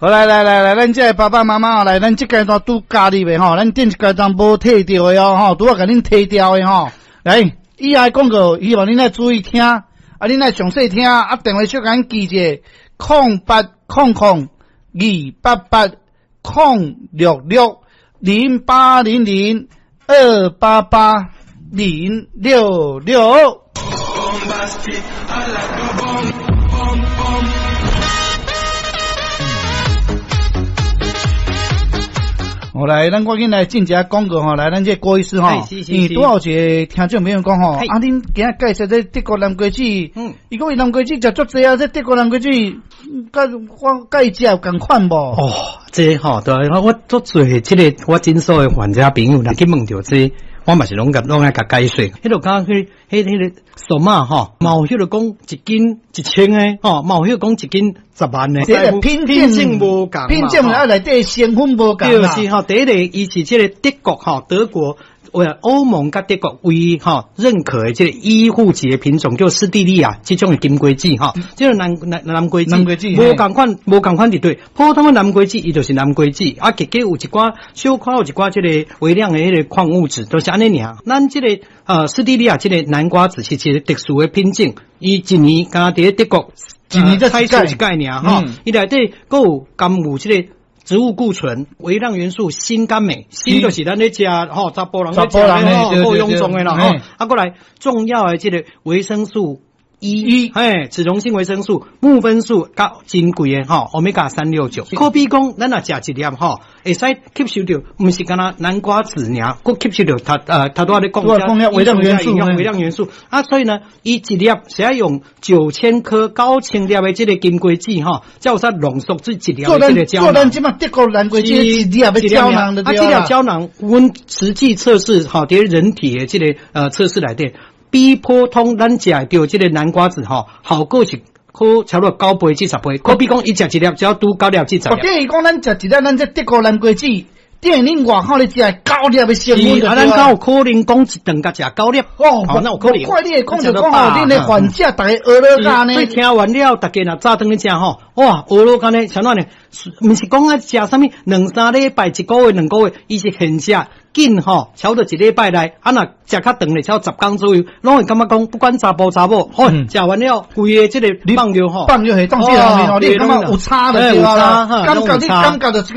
好，來來來來，咱這个爸爸媽媽來，咱這階段拄加入的吼，咱頂一階段無提著的哦吼，拄仔共恁提掉的吼。來，以下廣告，希望恁愛注意聽，啊，恁愛詳細聽，啊，電話小共恁記者，0800288066，0800288066。好來，咱趕緊來進一下廣告吼，來，咱這個郭醫師吼，伊拄好有一個聽眾朋友講吼，啊，恁今仔介紹這德國南瓜子，伊講伊南瓜子食足濟啊，這德國南瓜子，佮我佮伊食有仝款無？哦，這吼，對，我足濟這个我診所的患者朋友，若去問著這個，我嘛是攏共攏愛共解說。彼個敢彼彼個數碼吼，嘛有彼個講一斤1000的吼，嘛有彼個講一斤10萬的。這個品種無仝，品種啊內底成分無仝。對，是吼，第一個伊是這个德國吼，德國為歐盟佮德國唯一吼認可的這个醫護級的品種叫斯蒂利亞這種的金瓜子吼，這个南瓜子無仝款，無仝款佇對，普通的南瓜子伊就是南瓜子，啊，結果有一寡小可有一寡這个微量的彼个礦物質，都是按呢爾。咱這个斯蒂利亞這个南瓜子是一個特殊的品種，伊一年敢佇咧德國一年才採收一擺爾吼，伊內底閣有含有這个植物固醇、微量元素鋅佮鎂，鋅就是咱咧食吼，查埔人咧食的吼，夠臃腫的啦吼。啊，閣來重要的這个維生素 E，嘿，脂溶性維生素、木酚素，佮珍貴的吼，歐米伽369。可比講，咱若食一粒吼，會使吸收著，毋是干焦南瓜子爾，閣吸收著頭拄仔咧講微量元素，微量元素。啊，所以呢，伊一粒是愛用9000顆高千粒的這个金瓜子吼，才有使濃縮這一粒的這个膠囊。做咱這馬德國南瓜子一粒的膠囊就對。啊，這粒膠囊，阮實際測試吼，佇人體的這个測試內底，比普通咱食的著這个南瓜子吼，效果是可差不多9倍至10倍。可比講，伊食一粒只要拄9粒至10粒。等於講，咱食一粒咱這德國南瓜子，等於恁外口咧食九粒的成分。啊，咱敢有可能講一頓共食九粒？哦，那有可能。怪你會講就講吼，恁的患者逐家學落甲呢。所以聽完了，逐家若早轉去食吼，哇，學落甲呢，啥物呢？毋是講啊食啥物兩三禮拜、一個月、2個月，伊是現食。緊吼，差不多一禮拜內，啊若食較長咧，超10工左右，攏會感覺講，不管查埔查某，吼，食完了，規个這个放尿吼，放尿系當時內面吼，你感覺有差就對啦，感覺你感覺就是。